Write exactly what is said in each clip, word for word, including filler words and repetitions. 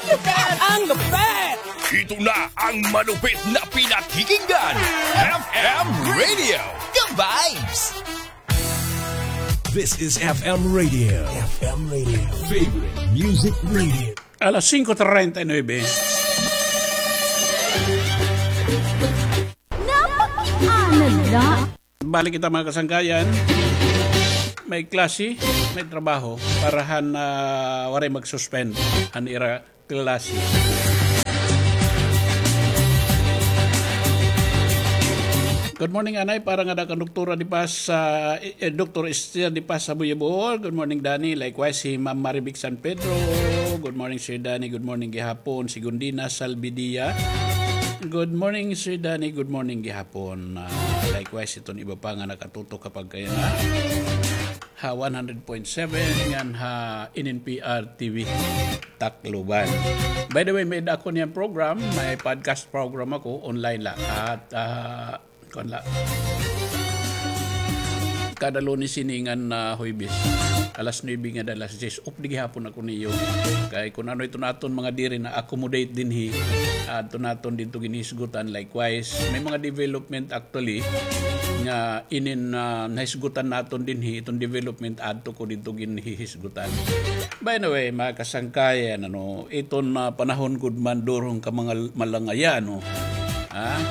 Ang lupit! Ito na ang malupit na pinakikinggan. F M Radio, The Vibes. This is F M Radio. F M Radio. Favorite Music Radio. Alas singko treinta y nuebe. Napakiana la. Balik kita, mga kasangkayan. May klase, may trabaho para han, ah, waray mag-suspend han ira klase. Good morning, anay. Para ngada kan Doktora Di Paz, ah, eh, eh, Doktor Esther Di Paz sa Buyabor. Good morning, Danny. Likewise, si Ma'am Marivic San Pedro. Good morning, Sir Danny. Good morning gihapon. Si Gundina Salvidia. Good morning, Sir Danny. Good morning gihapon. Ah, likewise, iton iba pa nga nakatutok kapag kaya na ha one hundred point seven ngan ha N N P R T V Tacloban. By the way, may-ada ako niyan program, may podcast program ako, online la. At, ah, kuan la. Kada Lunes ini ngan, ah, Huwebes. Alas nuebe ngada alas diyes. Updi gihapon ako niyo. Kay kun ano iton aton mga diri na-accommodate dinhi, adto naton didto ginhisgutan. Likewise, may mga development actually nga inin, ah, nahisgutan naton dinhi, iton development adto ko didto ginhihisgutan. By the way, mga kasangkayan, ano, iton, ah, panahon gud man durong ka mga malangayan, no? Ha?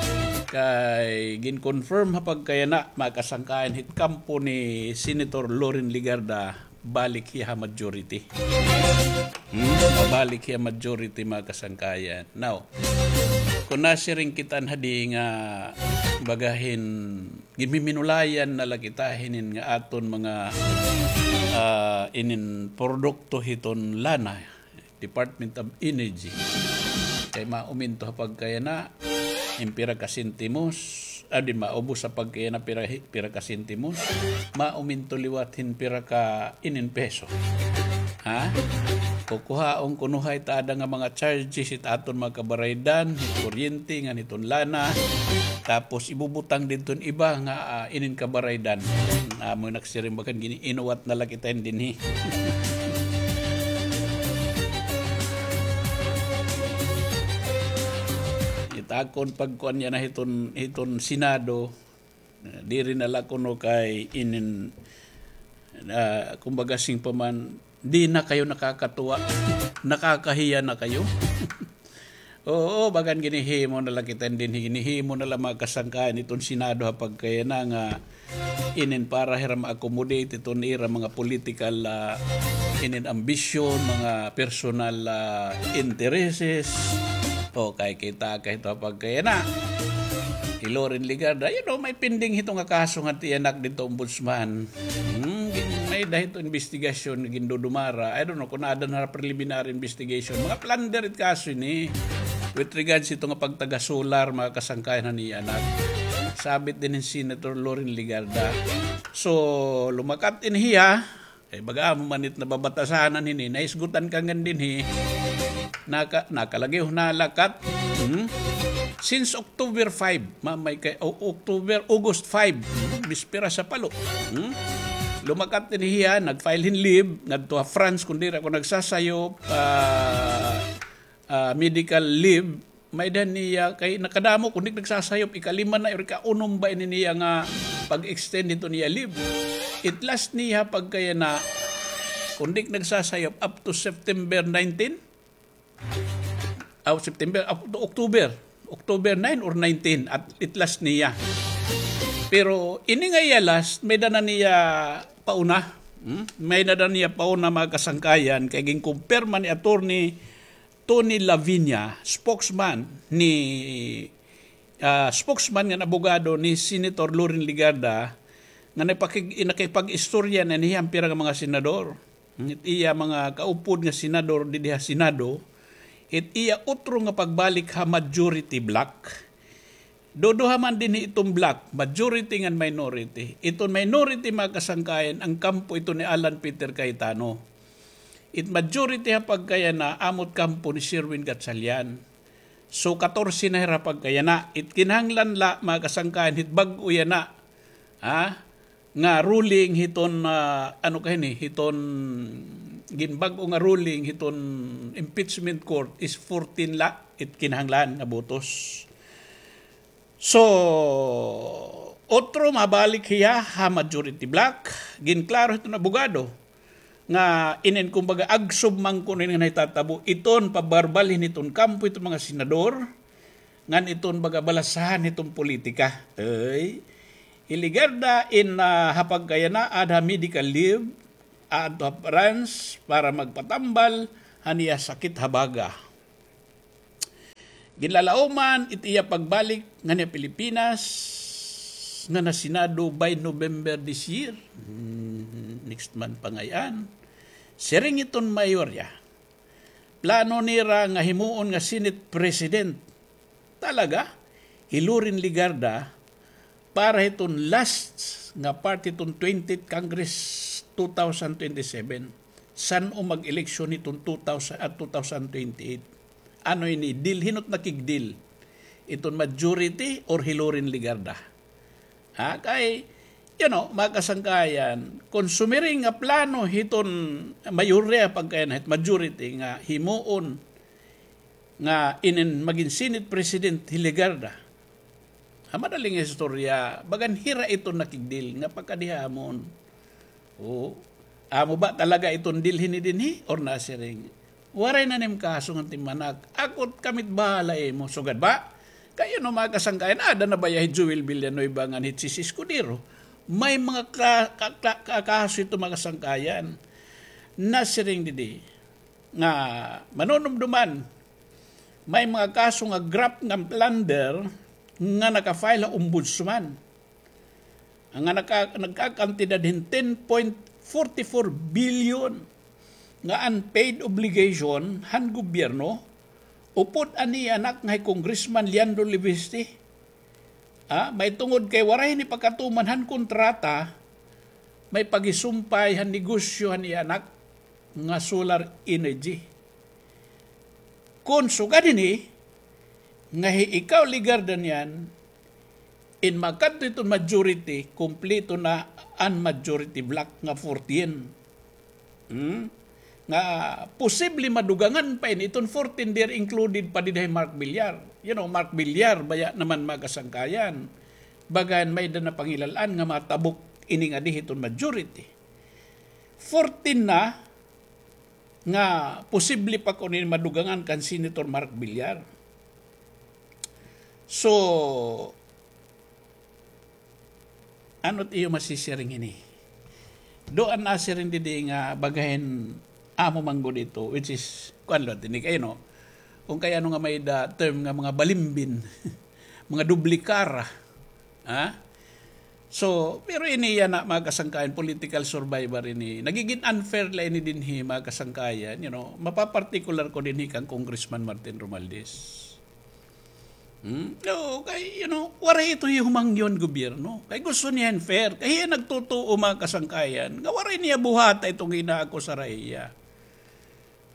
Kay gin-confirm ha pagkayana, mga kasangkayan, hit kampo ni Senator Loren Legarda, balik hiya ha majority. Hmm? Mabalik hiya majority, mga kasangkayan. Now, kun nasiring kita hadi nga baga hin ginmiminulayan na la kita hinin nga aton mga, ah, inin produkto hiton lana, Department of Energy. Kay mauminto ha pagkayana, hin pira ka sentimos, ah, di, maubos ha pagkayana pira, pira ka sentimos, mauminto liwat hin pira ka inin peso. Ha? Kukuhaon kuno ha it ada nga mga charges hit aton mga kabaraydan, hit kuryente, ngan hiton lana. Tapos ibubutang didto hin iba nga, ah, inin kabaraydan. Amo nagsiring bagan gini, inuwat na la kita dinhi. It akon pagkuan yana hiton, hiton Senado, diri na la kuno kay inin, ah, kumbaga sing pa man, di na kayo nakakatuwa, nakakahiya na kayo. Oo, bagan ginihimo na la kita dinhi, ginihimo na la mga kasangkayan iton Senado ha pagkayana nga inin para hira ma-accommodate iton ira mga political, ah, inin ambisyon, mga personal, ah, intereses. O, kay kita kay ito ha pagkayana. Hi Loren Legarda, you know, may pending hito nga kaso nga tiyanak didto, Ombudsman. Hmm, gin-, may-ada hito investigasyon nga gindudumara. I don't know kun ada na preliminary investigation. Mga plunder it kaso ini. With regards hito nga pagtaga-solar, mga kasangkayan han iya anak. Sabit dinhi hin Senator Loren Legarda. So, lumakat ini hiya. Kay baga amo man it nababatasanan hini, nahisgutan ka ngan dinhi. Naka-, nakalagi, o, nalakat. Hmm? Since October five, mamay kay, o, October, August five, hmm? Bispera sa palo. Hmm? Lumakat ini hiya, nag-file hin leave, ngadto ha France, kun diri ako nagsasayop, ah, ah, medical leave, may-ada niya kay nakadamo, kun di nagsasayop, ikalima na, or ikaunom ba ini niya nga pag-extend hiton iya leave. It last niya pagkayana, kun di nagsasayop, up to September nineteen? Aw, September, up to October. October nine or nineteen, at it last niya. Pero ini nga iya last, may-ada na niya pauna. Hmm? May-ada na niya pauna, mga kasangkayan, kay ginkumpirma ni Attorney Tony Lavinia, spokesman ni, ah, spokesman ngan abogado ni Senator Loren Legarda, nga nakipag-, nakipag-istorya na niya an pira nga mga senador. It iya mga kaupod nga senador didi ha Senado, it iya utro nga pagbalik ha majority bloc. Duduha man dinhi iton bloc, majority ngan minority. Iton minority, mga kasangkayan, an kampo ito ni Alan Peter Cayetano. It majority ha pagkayana, amo it kampo ni Sherwin Gatchalian. So, katorse na hira pagkayana. It kinahanglan la, mga kasangkayan, hit bag-o yana, ha? Nga ruling hiton, ah, ano ka hini, hiton ginbag-o nga ruling hiton impeachment court is fourteen la it kinahanglan nga botos. So, otro mabalik hiya ha majority bloc, ginklaro hiton abogado nga inin kumbaga agsub man kuno ini nga nahitatabo iton pabarbalhin hiton kampo hiton mga senador, ngan iton baga balasahan hiton politika. Ay, hi Legarda in, ah, ha pagkayana aada ha medical leave, aadto ha France para magpatambal han iya sakit ha baga. Ginlalauman it iya pagbalik nganhi ha Pilipinas ngan ha Senado by November this year. Hmm, next month pa ngay-an. Siring hiton mayorya, plano nira nga himuon nga Senate President talaga hi Loren Legarda para hiton last nga part hiton twentieth Congress two thousand twenty-seven. San-o mag-eleksyon hiton two thousand at two thousand twenty-eight? Ano ini, deal, hin-o it nakig-deal? Iton majority or hi Loren Legarda? Ha, kay, you know, mga kasangkayan, kon sumiring nga plano hiton mayorya pagkayana, hit majority nga himuon nga inin magin Senate President hi Legarda. Ha madali nga istorya, bagan hira iton nakig-deal nga pagkadihamon. O, amo ba talaga iton deal hini dinhi or nasiring? Waray na nim kaso ngan timanak. Ako it kami it bahala imo. Sugad ba? Kay, you know, mga kasangkayan, aada na baya hi Joel Villanueva ngan hi Chiz Escudero. May mga ka-, ka-, ka-, ka-, kaso ito, mga kasangkayan. Nasiring didi nga manunumduman, may mga kaso nga graft ngan plunder nga naka-file ha ombudsman. Nga naka-, nagkakantidad hin ten point forty-four billion nga unpaid obligation han gobyerno, upod an iya anak nga hi Congressman Leandro Leviste. Ah, may tungod kay waray ini pagkatuman han kontrata, may pagisumpay han negosyo han iya anak nga solar energy. Kon sugad hini, nga hi ikaw, Legarda, niyan, in makadto iton majority, kumpleto na an majority bloc nga fourteen. Hmm? Nga posible madugangan pa ini iton fourteen, there included pa dida hi Mark Villar. You know, Mark Villar, baya naman, mga kasangkayan. Bagan may-ada na pangilal-an nga matabok ini ngadi hiton majority. Fourteen na, nga posible pa kuno ini madugangan kan Senator Mark Villar. So, ano it iyo masisiring hini? Do an nasiring didi nga baga hin amo man gud ito, which is, kuan la, tinik, ay, no? Kung kay ano nga may-ada term nga mga balimbin, mga doble kara. Ha? So, pero ini yana, mga kasangkayan, political survivor ini. Nagigin unfair la ini dinhi, mga kasangkayan, you know, mapapartikular ko dinhi kan Congressman Martin Romualdez. Hmm? No, kay, you know, waray ito humangyo han gobyerno. Kay gusto niya hin fair. Kay hiya nagtutuo, mga kasangkayan, nga waray niya buhata iton ginaakusar ha iya.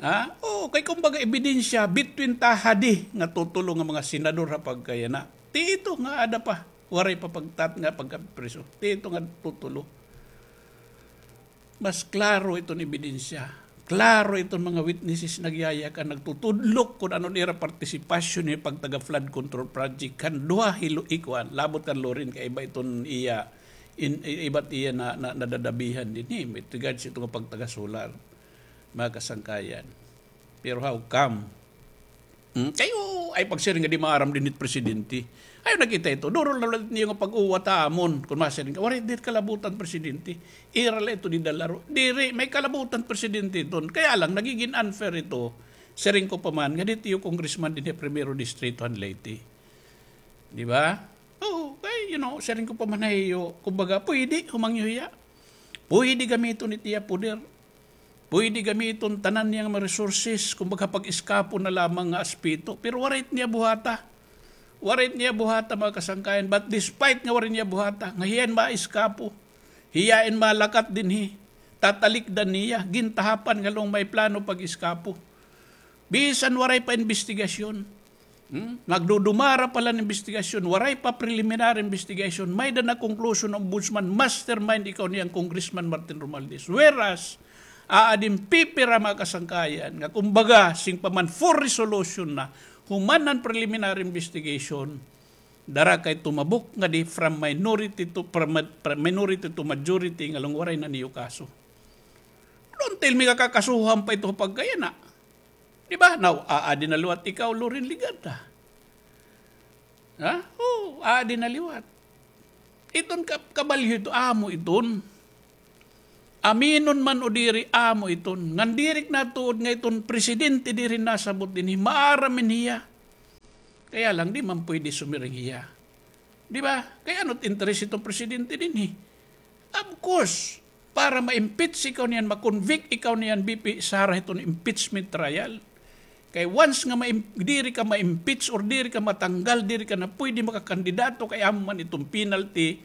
Ha? Oo, kay kumbaga ebidensya between ta hadi nga tutulo nga mga senador ha pagkayana. Ti ito nga aada pa, waray pa pagtat nga pagkapriso. Ti ito nga tutulo. Mas klaro iton ebidensya. Klaro iton mga witnesses nagyayakan, nagtutudlok kon ano an ira partisipasyon ha pagtaga flood control project kan duha hi Lo-, hi kuan, labot kan Loren kay iba iton iya, in, iba it iya na, na, nadadabihan dinhi with regards ito nga pagtaga solar. Mga kasangkayan. Pero how come? Hmm? Kay, oo, ay pagsiring nga di maaram dinhi it presidente. Ayaw na kita ito. Duro na la it niyo nga pag-uwatamon. Kon masiring ka, waray diri kalabutan presidente. Ira la ito didala ro. Diri, may kalabutan presidente iton. Kaya lang, nagigin unfair ito. Siring ko pa man, nga diri iyo congressman dinhi ha Primero Distrito han Leyte. Di ba? Oo, kay, you know, siring ko pa man ha iyo, kumbaga, pwede, humangyo hiya. Pwede gamiton it iya poder. Pwede gamiton tanan niya nga mga resources, kumbaga, pag-eskapo na lamang nga aspeto. Pero waray it niya buhata. Waray it niya buhata, mga kasangkayan. But despite nga waray niya buhata, nga hiya in maeskapo, hiya in malakat dinhi, tatalikdan niya, gintahapan nga law nga may plano pag-eskapo. Bisan waray pa imbestigasyon. Hmm? Nagdudumara pa la an imbestigasyon, waray pa preliminary investigation, may-ada na conclusion an ombudsman, mastermind ikaw niyan Congressman Martin Romualdez. Whereas, Aadin pipira, mga kasangkayan, nga kumbaga, sing pa man full resolution na, human an preliminary investigation, dara kay tumabok ngadi from minority to, from, from minority to majority, ngan waray na niyo kaso. Don't tell me nga kakasuhan pa ito pagkayana. Di ba? Now, aadi na liwat ikaw, Loren Legarda. Ha? Oo, aadi na liwat. Iton ka-, kabalyo ito, amo iton. Aminon man o diri, amo iton. Ngan diri ak natuod nga iton presidente diri nasabot dinhi, maaram man hiya. Kaya lang, di man pwede sumiring hiya. Di ba? Kay ano't interest iton presidente dinhi? Of course, para ma-impeach ikaw niyan, ma-convict ikaw niyan, B P Sara, hiton impeachment trial. Kay once nga ma-im-, diri ka ma-impeach or diri ka matanggal, diri ka na pwede makakandidato, kay amo man iton penalty,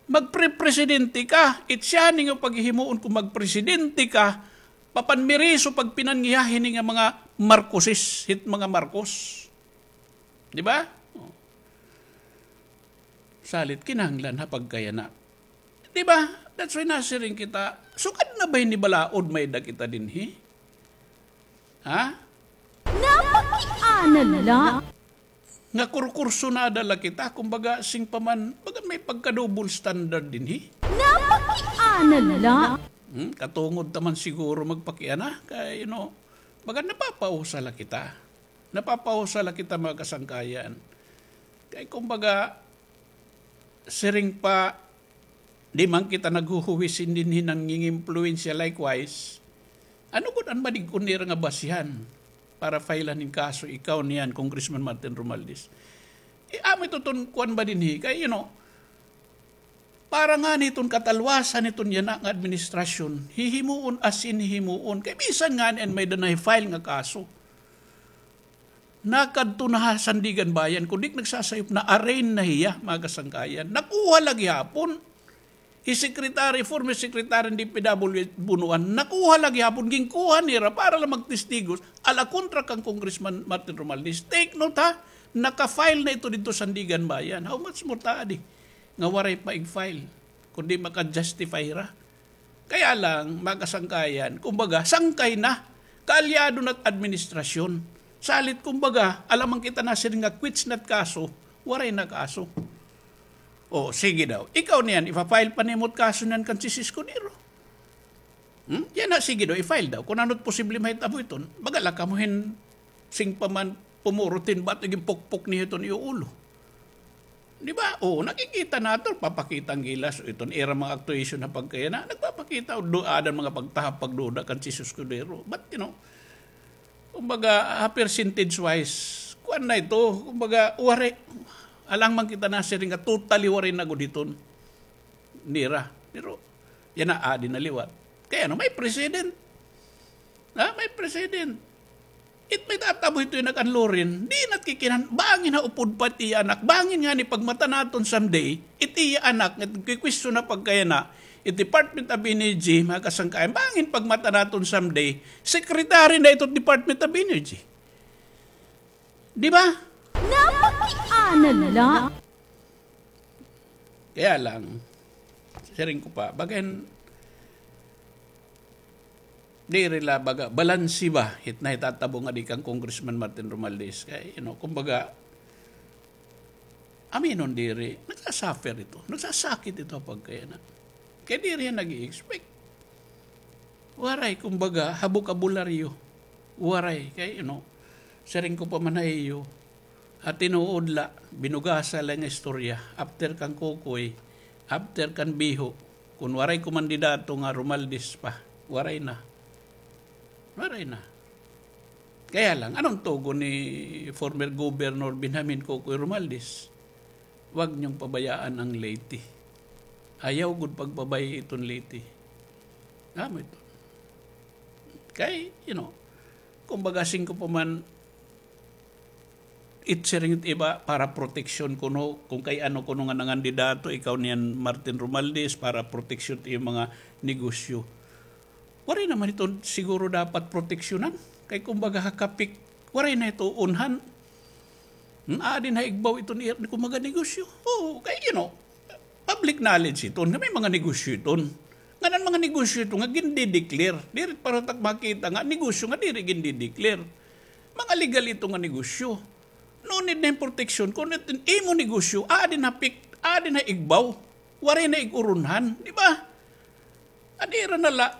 magpre-presidente ka. It siya ni nga paghihimuon kung magpresidente ka, papanmiriso pagpinangiha hini nga mga Marcoses, hit mga Marcos. Di ba? O. Salit kinahanglan ha pagkayana. Di ba? That's why nasiring kita, sugad na ba ini balaod may-ada kita dinhi? Ha? Napakiana la. Nga kurkursonada la kita, kumbaga, sing pa man, baga may pagka-double standard dinhi. Napakiana la. Hmm? Katungod ta man siguro magpakiana, kay, you know, baga napapausa la kita. Napapausa la kita, mga kasangkayan. Kay kumbaga, siring pa, di man kita naghuhuwi hin dinhi nangingimpluwensya likewise. Ano gud an madig-on nira nga basihan para file-an hin kaso ikaw niyan, Congressman Martin Romualdez? Eh, amo ito ton kuan ba dinhi? Kay, you know, para ngani iton katalwasan hiton yana nga administrasyon, hihimuon as in hihimuon. Kay bisan ngani an may-ada na hi-file nga kaso, nakadto na ha Sandiganbayan, kun di ak nagsasayop, na-arraign na hiya, mga kasangkayan. Nakuha la gihapon. Hi Secretary, former Secretary hin D P W H Bonoan, nakuha la gihapon, ginkuha nira para la magtestigos, ala kontra kan Congressman Martin Romualdez. Take note, ha, naka-file na ito didto Sandiganbayan. How much more ta adi nga waray pa ig-file, kundi maka-justify hira. Kaya lang, mga kasangkayan, kumbaga, sangkay na, kaalyado na it administrasyon. Salit, kumbaga, alangan kita nasiring nga quits na it kaso, waray na kaso. O, sige daw. Ikaw niyan, ipa-file pa nimo it kaso niyan kan Chiz Escudero. Hmm? Yana, sige daw, i-file daw. Kun ano it posible mahitabo iton, baga la kamo hin sing pa man pumurot hin bato, ginpukpok niyo iton iyo ulo. Di ba? O, nakikita naton, papakita an gilas, iton ira mga actuation ha pagkayana, nagpapakita, do, aada an mga pagtahap, pagduda kan Chiz Escudero. But, you know, kumbaga, ha percentage wise, kuan na ito, kumbaga, waray, alangan kita nasiring nga totally waray na gud hiton nira. Pero, yana, aadi na liwat. Kay ano, may precedent. Ha? May precedent. It may tatabo hito yana kan Loren, di na it kikinan, bangin ha upod pa it iya anak, bangin ngani pagmata naton someday, it iya anak, nga nagkikwestiyon na pagkayana, it Department of Energy, mga kasangkayan, bangin pagmata naton someday, secretary na ito Department of Energy. Di ba? Napakiana la. Kaya lang, siring ko pa, bagan, diri la baga, balanse ba, hit nahitatabo ngadi kan Congressman Martin Romualdez. Kay, you know, kumbaga, aminon diri, nagsasuffer ito, nagsasakit ito pagkayana. Kay diri hiya nag-i-expect. Waray, kumbaga, ha bokabularyo. Waray, kay, you know, siring ko pa man ha iyo, ha tinuod la, binugasa la nga istorya, after kan Kokoy, after kan Biho, kun waray kumandidato nga Romualdez pa, waray na. Waray na. Kaya lang, ano an tugon ni former Governor Benjamin Kokoy Romualdez? Huwag niyong pabayaan ang Leyte. Ayaw gud pagpabay-i iton Leyte. Amo ito. Kay, you know, kumbaga, siring ko pa man, it siring it iba para proteksyon kuno, kun kay ano kuno nga nangandidato, ikaw niyan Martin Romualdez, para proteksyon it iyong mga negosyo. Waray naman ito siguro dapat proteksyonan. Kay kumbaga ha kapik, waray na ito unhan. Hmm, aadi na ha igbaw iton, kumbaga negosyo. Oo, kay, you know, public knowledge iton nga may mga negosyo iton. Ngan an mga negosyo ito nga gindideclare. Diri para tak makita nga negosyo nga diri gindideclare. Mga legal ito nga negosyo. No need na hin protection. Kun it-, imo negosyo, aadi na pik-, aadi na igbaw. Waray na ig-uronhan, di ba? Adi ra na la,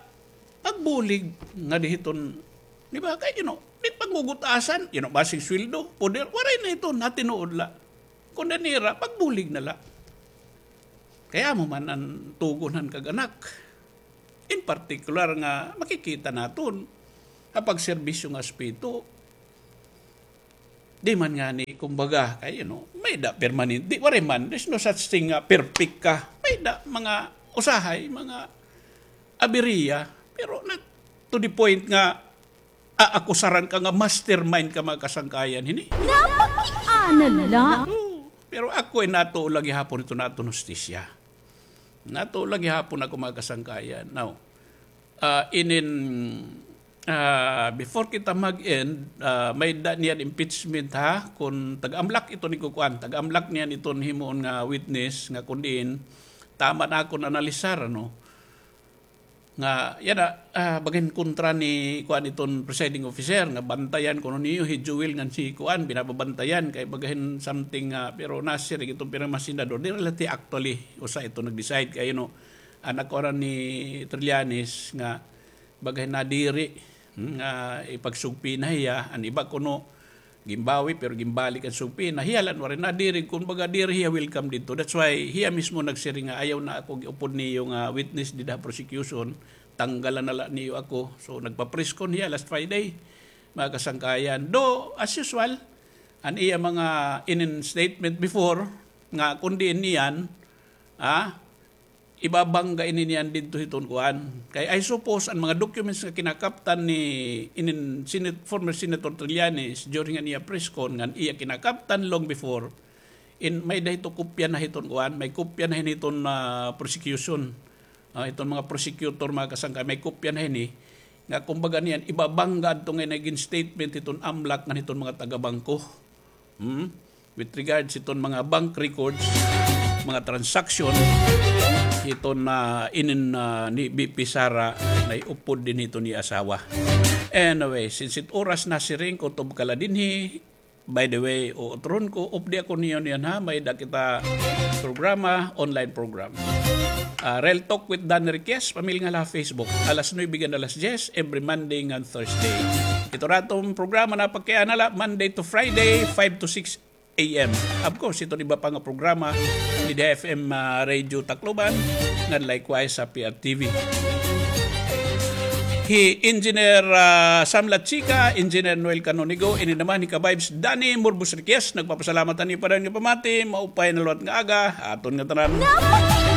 pagbulig nga di hiton, di ba? Kay, you know, di pagngugutasan, you know, basig sweldo, poder, waray na hiton, ha tinuod la. Kun diri ra, pagbulig na la. Kay amo man an tugon han kag-anak. In particular nga makikita naton ha pagserbisyo nga aspeto. Di man ngani, kumbaga, kay, you know, may-ada permanente, waray man, there's no such thing nga perfect ka. May-ada mga usahay, mga aberya, pero not to the point nga aakusaran ka nga mastermind ka, mga kasangkayan, hini. Napakiana la. Oo, pero ako ay natuo la gihapon ito nga aton hustisya. Natuo la gihapon ako, mga kasangkayan. Now, ah, inin, ah, before kita mag-end, ah, may-ada niyan impeachment, ha? Kun taga-Amlac ito ni kukuan, taga-Amlac niyan iton himuon nga witness, nga kun diin, tama na akon analisar, ano? Nga, yana, ah, baga hin kontra ni kuan iton presiding officer, nga bantayan kuno niyo hi Joel ngan si kuan, binababantayan, kay baga hin something, ah, pero nasiring iton pirmahan senador, diri la ti actually, usa ito nag-decide, kay, you know, an nakuan ni Trillanes nga baga hin nadiri, hmm, nga ipagsugpina hiya, an iba kuno, ginbawi, pero ginbalik an sugpina. Hiya la an waray nadiri, kumbaga diri hiya welcome didto. That's why hiya mismo nagsiring nga, "Ayaw na ako giupod niyo nga witness dida ha prosecution. Tanggalan na la niyo ako." So, nagpa-press con hiya last Friday, mga kasangkayan. Though, as usual, an iya mga inin statement before, nga kun diin niyan, ah, ibabangga ini niyan didto hiton kuan. Kay I suppose an mga documents nga kinakaptan ni inin Senat-, former Senator Trillanes during an iya press con ngan iya kinakaptan long before, in, may-ada hito kopya na hiton kuan, may kopya na hini hiton, ah, prosecution. Ah, hiton mga prosecutor, mga kasangkay, may kopya na hini. Nga kumbaga niyan, ibabangga adto nga nagin statement hiton Amlac ngan hiton mga taga-bangko. Hmm? With regards hiton mga bank records, mga transaction, hiton na inin, ah, ni V P Sara, naiupod dinhi hiton iya asawa. Anyway, since it oras na siring, kutob ka la dinhi. By the way, utrohon ko, updi ako niyo niyan, ha, may-ada kita programa, online program. Ah, Real Talk with Dan Riquez, pamilingan la ha Facebook, alas nuebe ngan alas diyes, every Monday ngan Thursday. Ito ra aton programa, napakiana la, Monday to Friday, five to six A M. Of course, iton iba pa nga programa, dida ha F M, ah, Radio Tacloban, ngan likewise sa P R T V. Hi Engineer, ah, Sam Lachica, Engineer Noel Canonigo, ini naman hi ka-vibes Danny Murbos Riquez, nagpapasalamat han iyo padayon nga pamati, maupay nga liwat nga aga, aton ngatanan.